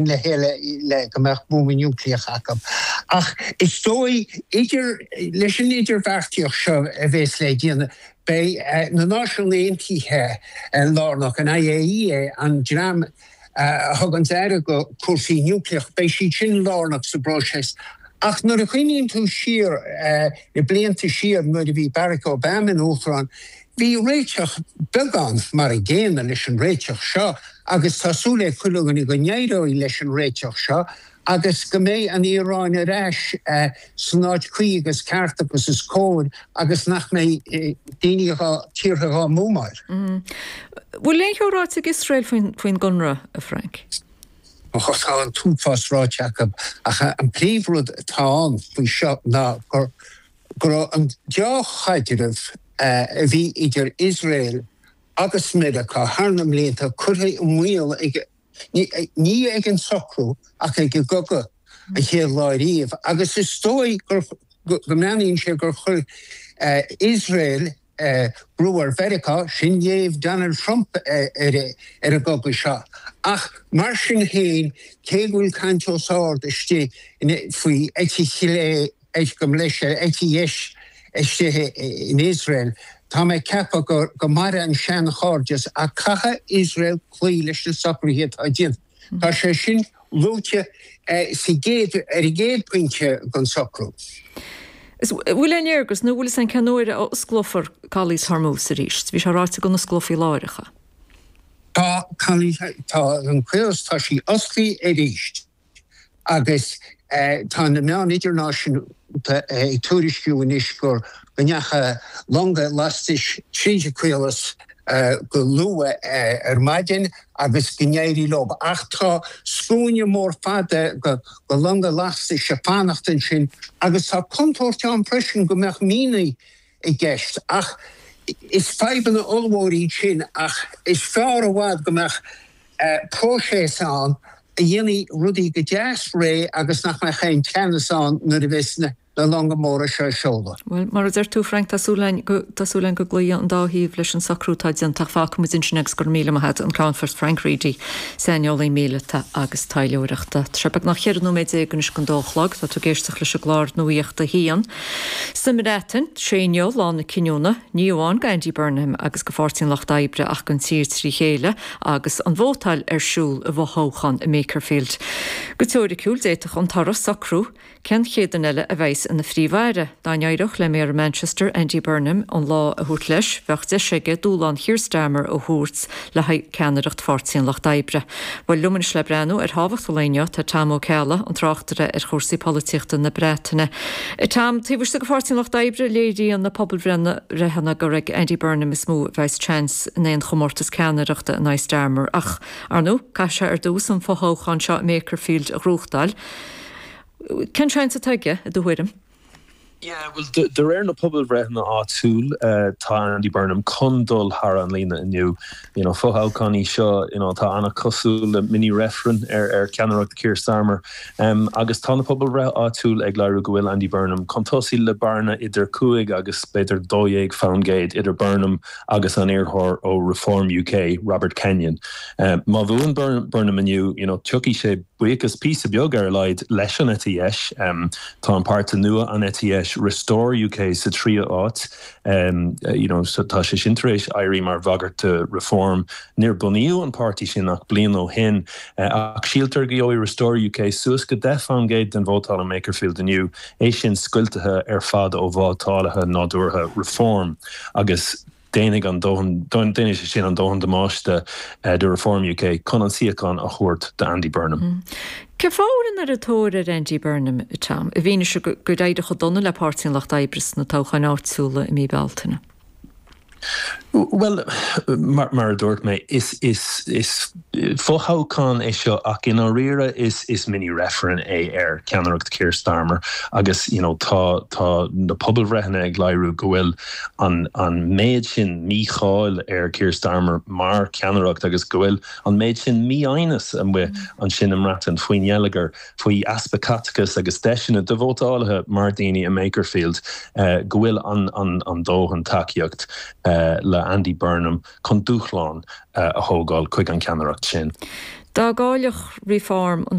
Le chéile le go mbeadh buama núicléach acu. Ach is dóigh, idir, leis an idirbheartaíocht seo a bheas le déanamh, beidh na Náisiúin Aontaithe lárnach, an IAEA, an dream a thuganns aire go cúrsaí núicléach, beidh siad sin lárnach sa bpróiseas. Ach nuair a chuimhníonn tú siar, na blianta siar nuair a bhí Barack Obama ina Uachtarán, bhí réiteach beagán mar an gcéanna leis an réiteach seo. Agus tá súil ag chuile dhuine go n-éireoidh leis an réiteach seo agus go mbeidh an Iaráin ar ais san áit cuí agus ceart agus is cóir agus nach mbeidh daoine dhá, tíortha dhá mbuamáil. Bhfuil aon cheo ráite ag Iosrael faoin gconradh, a Frank? Tá an t-uafás ráite acu ach an príomhrud atá ann faoi seo ná gur go raibh an deá-chaidreamh a bhí idir Iosrael agus Meiriceá thar na mblianta curtha i mbaol ag, ní ag an socrú ach ag an gcogadh an chéad lá riamh agus is dóigh go mbreathnaíonn sé gur chuir Iosrael brú ar Mheiriceá, sin léamh Donald Trump ar an gcogadh seo. Ach mar sin féin, cé go bhfuil caint os ard istigh faoi eite chlé, Gabh mo leithscéal, eite dheis istigh in Iosrael. Tá mé ag ceapadh go mairfidh an seanchairdeas ach caithfidh Iosrael cloí leis na socruithe atá déanta. Tá sé sin luaite sa gcéad, ar an gcéad phointe den socrú. Is bhfuil aon léargas nó bhfuil fhios a'inn cén uair a osclófar Calas Hormuz arís? Bhí sé ráite go n-osclófaí láithreach é. Tá, tá an caolas, tá sí osclaithe arís. Agus tá na meáin idirnáisiúnta ag tuairisciú anois go ndeachaigh longa lastais tríd an chaolas go luath ar maidin agus go n-éirigh leo. Ach tá scuaine mór fada de longa lastais ag fanacht ansin agus tá contúirt ann freisin go mbeadh mianaigh i gceist. Ach is fadhbanna ollmhór iad sin ach is fearr i bhfad go mbeadh próiseas ann a dhéanfaidh rudaí go deas réidh agus nach mbeadh aon teannas ann nuair a bheas na longa móra seo ag seoladh. Bhuel, mar a deir tú, Frank, tá súil againn go, tá súil againn go gcloífidh an dá thaobh leis an socrú atá déanta ach fágfaidh muid ansin é agus go raibh míle maith agat, an Ceannfort Frank Reidy, saineolaí míleata agus taidhleoireachta. Tá sé beagnach 14 nóiméad anois don dó a chlog, tá tú ag éisteacht leis an gclár Nuacht a hAon. Sa mBreatain, sé inniu lá na cinniúna, ní amháin d'Andy Burnham agus do Pháirtí an Lucht Oibre ach don tír trí chéile, agus an vótáil ar siúl i bhfothoghchán i mBakerfield. Go teoiriciúil, d'fhéadfadh an toradh socrú cén chéad duine eile a bheas ina Phríomh-Aire. Dá n-éireodh le Méara Manchester, Andy Burnham, an lá a thabhairt leis, bheadh deis aige dúshlán Keir Starmer a thabhairt le haghaidh ceannaireacht Pháirtí an Lucht Oibre. Bhuel, liom anois le breathnú ar thábhacht an lae inniu tá Tom Ó Ceallaigh, an tráchtaire ar chúrsaí polaitíochta na Breataine. Tom, taobh istigh de Pháirtí an Lucht Oibre, léiríonn na pobalbhreitheanna gur ag Andy Burnham is mó a bheas seans in aon chomórtas ceannaireachta in aghaidh Starmer. Ach, ar ndóigh, caithfidh sé ar dtús an fothoghchán seo i mBakerfield a ghnóthachtáil. Cén seans atá aige, i do thuairim? Yeah, bhuel, de réir na pobalbhreitheanna áitiúil, tá Andy Burnham chun dul thar an líne inniu. You know, fothoghchán í seo, you know, atá an-chosúil le mini-reifreann ar ar cheannaireacht Keir Starmer. Agus tá na pobalbhreith áitiúil ag léiriú go bhfuil Andy Burnham chun tosaigh le bearna idir 5 agus b'fhéidir 12 faoin gcéad idir Burnham agus an iarrthóir ó Reform UK, Robert Kenyon. Má bhuann Burnham inniu, you know, tiocfaidh sé buíochas, píosa beag ar a laghad, leis an eite dheis. Tá an páirtí nua, an eite dheis, Restore UK, sa tríú háit. You know, so tá sé sin tar éis éirí mar bhagairt do Reform. Níor bunaíodh an páirtí sin ach bliain ó shin, ach síltear go gheobhaidh Restore UK suas go 10 faoin gcéad den vótáil i mBakerfield inniu, é sin scoiltithe ar fad ó vótálaithe nádúrtha Reform agus déanfaidh an dóthain, déanfaidh sé sin an dóthain damáiste do Reform UK chun an suíochán a thabhairt d'Andy Burnham. Cén fáth a bhfuil an oiread tóir ar Andy Burnham, Tom, i bhfianaise gur éirigh chomh dona le Páirtí an Lucht Oibre sna toghcháin áitiúla i mí Bealtaine? Bhuel, mar a dúirt mé, is fothoghchán é seo ach i ndáiríre is mini-reifreann é ar cheannaireacht Keir Starmer agus you know tá tá na pobalbhreitheanna ag léiriú go bhfuil an an méid sin mícháil ar Keir Starmer mar cheannaireacht agus go bhfuil an méid sin mífhoighneas amuigh ansin i mBreatain faoin ngeilleagar faoi easpa caiteachais agus deiseanna do vótálaithe mar daoine i mBakerfield go bhfuil an dóthain tacaíocht le Andy Burnham chun dúshlán a thógáil chuig an cheannaireacht sin. Dá gcaillfeadh Reform an.